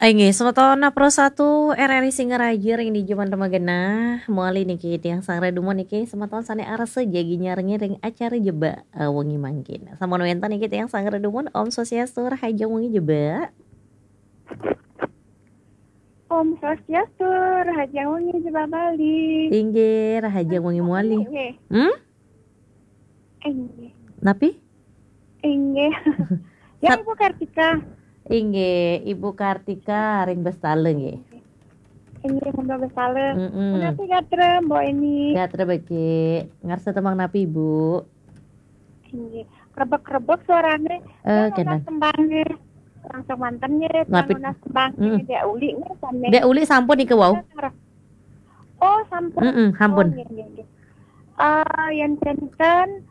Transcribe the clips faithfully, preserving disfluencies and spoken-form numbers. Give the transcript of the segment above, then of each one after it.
Inggih, semeton Pro satu R R I Singaraja ring dija manten magenah. Mawali niki tiang Sang Redumon niki semeton sane arsa jagi nyarengin ring acara Jebak, eh, wengi mangkin. Sampun wenten niki tiang Sang Redumon, Om Swastiastu, rahajeng wengi Jebak. Om Swastiastu, rahajeng wengi Jebak Bali. Inggih, rahajeng wengi mawali. Nggih. Hmm? Inggih. Napi? Inggih. Ya, Sat- Ibu Kartika. Inggih, Ibu Kartika ring Bestala nggih. Inggih, Ibu Bestala. Mm-mm. Punapi gatra, Mbok Eni? Gatra becik. Ngarsa tembang napi, Ibu? Inggih. Krebek-krebek suarane. Eh, ya, kena. Nunas tembangnya. Langsung manten nggih, napi? Nunas tembangnya. Mm. Dek Uli nggih, sane. Dek Uli sampun nika wau. Oh, sampun. Mm-mm, sampun. Oh, nggih, nggih, nggih. Eh, yen janten,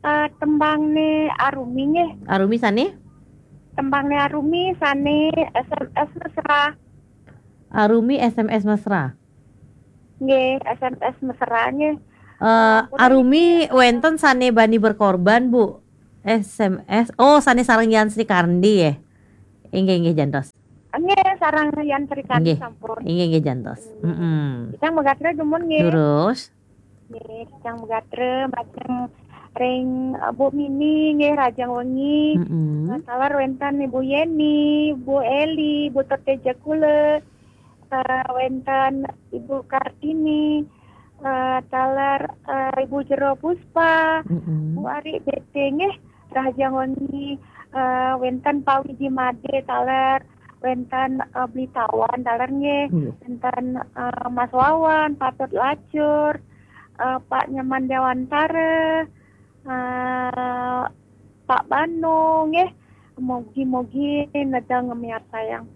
eh, tembangne Arumi nggih. Arumi sane? Tembangne Arumi sane S M S mesra. Arumi S M S mesra. Nggih, S M S mesra nggih. Eh, ampun, Arumi niki wenten sane bani berkorban, Bu. S M S. Oh, sane sareng Yan Sri Kandi, ya. Inggih, inggih, jantos. Nggih, sareng Yan Sri Kandi. Nggih. Sampun. Inggih, inggih, jantos. Nggih. Mm-mm. Tiang magatra dumun nggih. Durus. Nggih, tiang magatra majeng ring, eh, Bu Mini nggih, rahajeng wengi. Mm-mm. Eh, taler wenten Ibu Yeni, Bu Eli, Bu Teteja kula, eh, wenten Ibu Kartini, eh, taler, eh, Ibu Jero Puspa, mm-mm, Bu Ari Bete nggih, rahajeng wengi, eh, wenten Pak Widi Made taler, wenten, eh, Bli Tawan taler nggih, nggih, wenten, eh, Mas Wawan, Patut Lacur, eh, Pak Nyoman Dewantara, eh, Pak Banu nggih, mugi-mugi nedeng ngemiartayang.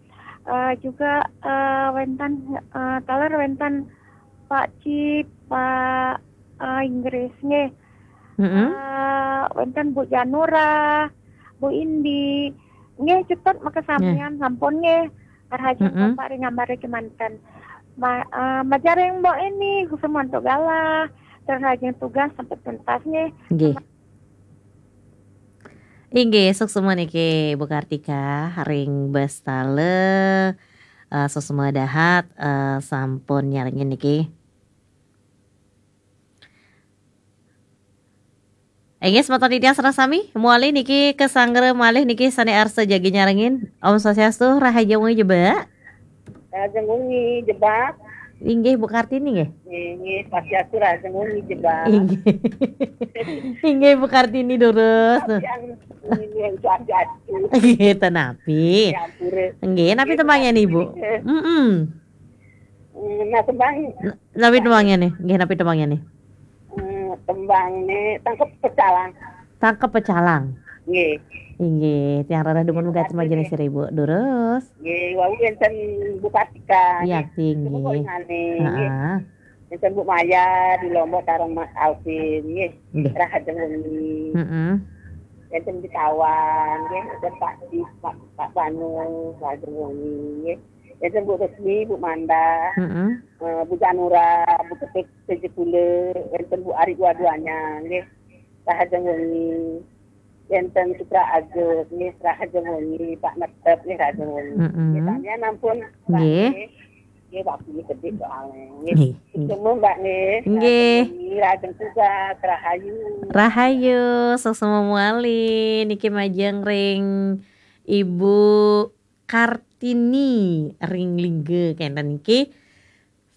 Eh, juga, eh, wenten, eh, taler wenten Pak Cip, Pak, eh, Inggris nggih. Mm-mm. Eh, wenten Bu Janura, Bu Indi. Nggih, cetut makasamian. Nggih. Sampun nggih. Rahajeng, mm-mm, Bapak ring ambare kemanten. Ma-, eh, majeng ring Mbok Eni, kusumanto galah. Rahajeng tugas sampai tuntas nggih. Nggih. Inggih, suksma niki Bu Kartika ring Bestala, eh, suksma dahat, eh, sampun nyarengin niki. Inggih, semeton titiang sareng sami, mawali niki kasanggra malih niki sane arsa jagi nyarengin. Om Swastiastu, rahajeng wengi Jebak. Rahajeng wengi Jebak. Inggih, Bu Kartini nggih. Inggih, Swastiastu, rahajeng wengi Jebak. Inggih. Inggih, Bu Kartini durus. Swastiastu, inggih, Swastiastu. Nggih, ten napi. Ya, ampure. Nggih, napi, nggih, tembangnya nih, Bu? Nggih. Mm-mm. Hmm, nah, tembang. N-, napi tembangnya nih? Nggih, napi tembangnya nih? Hmm, tembangne Tangkep Pecalang. Tangkep Pecalang. Nggih. Inggih, tiang rereh dumun. Nggih, megat makasih, majeng nggih. Seribu. Durus. Nggih, wau wenten Bu Kartika, nggih. Yakti, nggih. Nggih. Heeh. Wenten Bu Maya di Lombok sareng Mas Alvin, nggih. Nggih. Rahajeng wengi. Heeh. Wenten di Tawang, nggih. Wenten Pak Di, Pak, Pak Banu, rahajeng wengi, nggih. Wenten Bu Resmi, Bu Manda, heeh, eh, Bu Janura, Bu Ketik, Sejepule, wenten Bu Ari dua-duanya, nggih. Rahajeng wengi. Wenten Sutra Agus, nggih, rahajeng wengi. Pak Netep, nggih, rahajeng wengi. Mm-mm. Nggih, samian ampun, Mbak, nggih. Nggih. Nggih, waktu ini gede soalnya, nggih. Nggih, nggih. Semua, Mbak, nggih. Nggih. Rahajeng wengi, rahajeng tugas, rahayu. Rahayu, suksma mawali. Niki majeng ring Ibu Kartini ring Lingga kenten niki.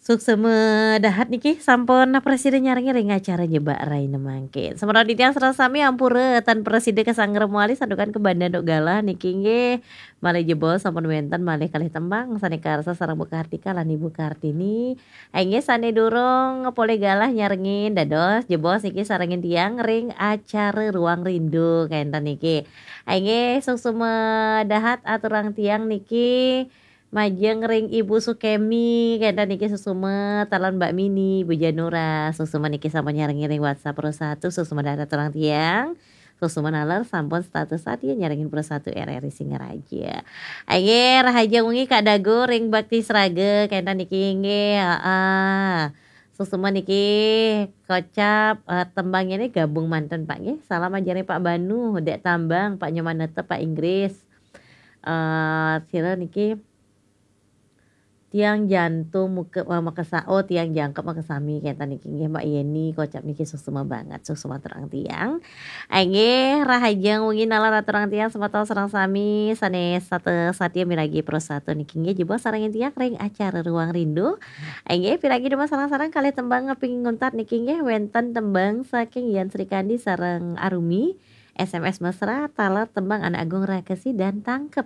Suksma dahat niki sampun prasida nyarengin ring acara Jebak Rahina mangkin. Semeton titiang sareng sami ampura tan prasida kasanggra mawali santukan kabanda duk galah niki nggih. Malih jebos sampun wenten malih kalih tembang sane karsa sareng Bu Kartika lan Ibu Kartini. Inggih sane durung polih galah nyarengin dados jebos niki sarengin tiang ring acara Ruang Rindu kenten niki. Inggih suksma dahat aturang tiang niki. Majeng ring Ibu Sukemi, kenten niki suksma, taler Mbak Mini, Bu Janura, suksma niki sampun nyarengin ring WhatsApp Pro satu, suksma dahat aturang tiang, suksma naler sampun setata satia nyarengin Pro satu R R I Singaraja. Inggih, rahajeng wengi Kak Dago ring Bakti Sraga, kenten niki inggih, heeh. Suksma niki kocap, eh, tembangnya ini gabung manten Pak nggih. Salam ajarin Pak Banu, Dek Tambang, Pak Nyoman Netep, Pak Inggris. Eh, sira niki Tiang jantung muke-, eh, makesa-, oh, tiang jangkep makesami, kenten niki nggih, Mbak Yeni, kocap niki suksma banget, suksma aturang tiang. Inggih, rahajeng wengi nalar aturang tiang semeton sareng sami sane sate-, satia miragi Pro Satu niki nggih, jebos sareng tiang ring acara Ruang Rindu. Inggih, piragi dumun sareng-sareng kalih tembang ping nguntat niki nggih, wenten tembang saking Yan Srikandi sareng Arumi, S M S Mesra, taler tembang Anak Agung Rakesi dan Tangkep.